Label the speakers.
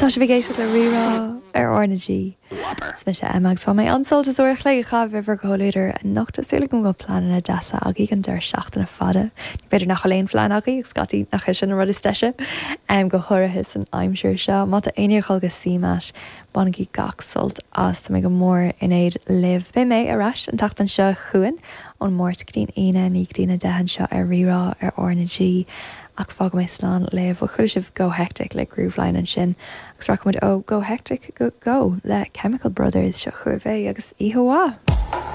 Speaker 1: Tá sibh ag éisteacht le Rí-Rá ar R na G. Is mise Emma agus bhain mé an-sult as uair a chloig a chaitheamh i bhur gcomhluadar anocht. Tá súil agam go bhfuil pleananna deasa agaibh don deireadh seachtaine fada. Nó b'fhéidir nach bhfuil aon phlean agaibh agus scaití nach é sin an rud is deise, go háirithe san aimsir seo. Má tá éinne ag dul go CMAT, bainigí gach sult as. Tá mé go mór in éad libh. Beidh mé ar ais an tseachtain seo chugainn ón Máirt go dtí'n Aoine, 9 go dtí'n 10 anseo ar Rí-Rá ar R na G. Ach fágfaidh mé slán libh. Bhuel, chuala sibh Go Hectic le Grooveline ansin agus rachaidh muid ó Go Hectic go Go le Chemical Brothers. Seo chugaibh é agus oíche mhaith!